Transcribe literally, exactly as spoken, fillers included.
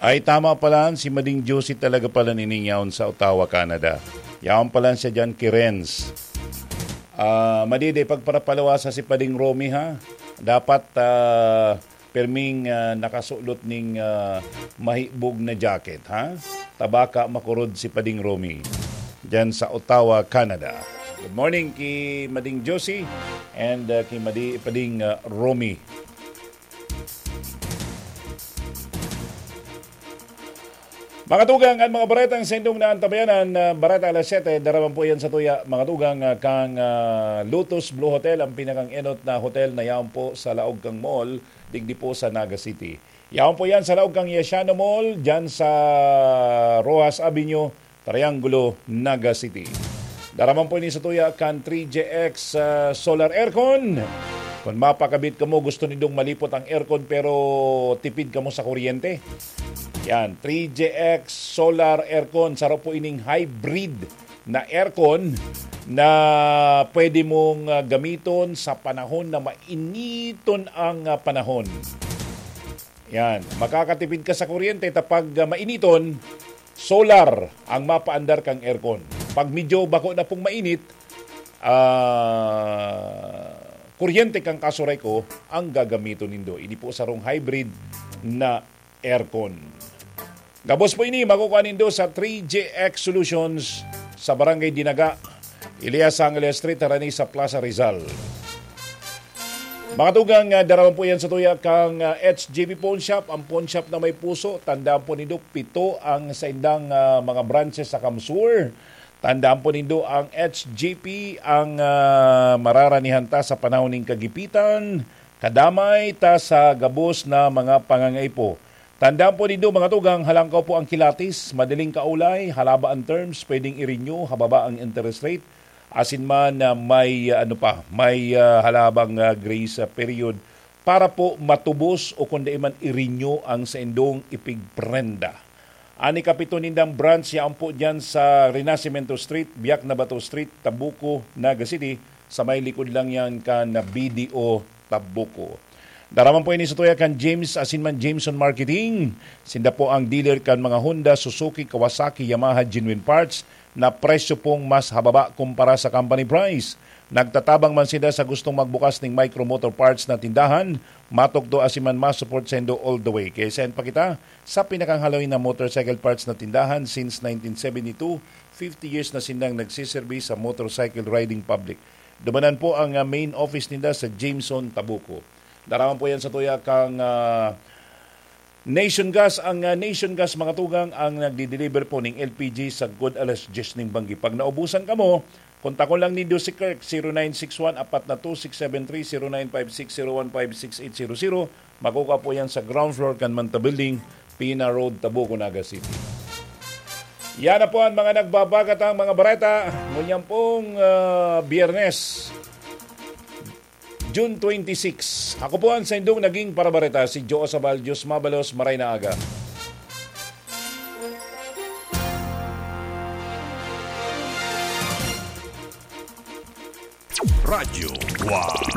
Ay, tama pala, si Mading Josie talaga pala nining yaon sa Ottawa, Canada. Yaon pala siya dyan, ki Renz. Ah, Madi, di pagparapalawasa si Pading Romy, ha? Dapat, ah, perming, ah, nakasulot ning, ah, mahibog na jacket, ha? Tabaka makurod si Pading Romy dyan sa Ottawa, Canada. Good morning ki Mading Josie and, ah, ki Madi, Pading, ah, Romy. Mga tugang, ang mga baretang sendong na antabayanan, ah, bareta alas siyete, daraman po yan sa tuya. Mga tugang, ah, kang, ah, Lotus Blue Hotel, ang pinakang enot na hotel na yaon po sa laog kang mall, digdi po sa Naga City. Yaon po yan sa laog kang Yasiano Mall, dyan sa Roxas Avenue, Triangulo, Naga City. Daraman po ini sa tuya kan three J X, ah, Solar Aircon. Kung mapakabit kamo, gusto nindong malipot ang aircon pero tipid kamo sa kuryente. Yan, three J X Solar Aircon. Saro po ining hybrid na aircon na pwede mong, ah, gamiton sa panahon na mainiton ang, ah, panahon. Yan, makakatipid ka sa kuryente ta pag, ah, mainiton, solar ang mapaandar kang aircon. Pag medyo bako na pong mainit, ah, kuryente kang kasuray ko ang gagamiton nindo. Ini po sarong hybrid na aircon. Gabos po ini, makukuha nindo sa three J X Solutions sa Barangay Dinaga, Elias Angeles Street, harani sa Plaza Rizal. Mga tugang, ah, daraman po yan sa tuya kang, ah, H J B Pawn Shop, ang pawn shop na may puso. Tandaan po nindo, pito ang saindang, ah, mga branches sa Kamsur. Tandaan po nindo, ang H J P ang, ah, mararanihan ta sa panahon ning kagipitan, kadamay ta sa gabos na mga pangangaipo. Tandaan po nindo, mga tugang, halangkaw po ang kilatis, madaling kaulay, halaba ang terms, pwedeng i-renew, hababa ang interest rate, asin man, ah, may, ah, ano pa, may, ah, halabang, ah, grace, ah, period para po matubos o kung di man i-renew ang saindong ipigprenda. An ikapito nindang branch yaon po diyan sa Renacimiento Street, Biak na Bato Street, Tabuco, Naga City, sa may likod lang yan kan B D O Tabuco. Daraman po ini sa tuya kan James asin man Jameson Marketing. Sinda po ang dealer kan mga Honda, Suzuki, Kawasaki, Yamaha, genuine parts na presyo pong mas hababa kumpara sa company price. Nagtatabang man sinda sa gustong magbukas ning micro motor parts na tindahan, matukdo asin man ma-support saindo all the way. Kaya send pa kita sa pinakang haloy na motorcycle parts na tindahan since nineteen seventy-two. Fifty years na sindang nagsiserbi sa motorcycle riding public. Dumanan po ang, ah, main office ninda sa Jameson, Tabuco. Daraman po yan sa tuya kang, ah, Nation Gas. Ang, ah, Nation Gas, mga tugang, ang nagdi-deliver po ning L P G sagkod alas diyes ning banggi. Pag naubusan kamo, kontakon lang nindo si Kirk, zero nine six one, apat na two, six seven three, zero nine five six, zero one five six eight zero zero. Makukuha po yan sa ground floor kan Manta Building, Pina Road, Tabuco, Naga City. Yan na po ang mga nagbabagatang mga bareta ngunyan pong, ah, Biyernes, June twenty-six. Ako po ang saindong naging parabareta, si Joe Sabal. Diyos mabalos, maray na aga. Radyo One.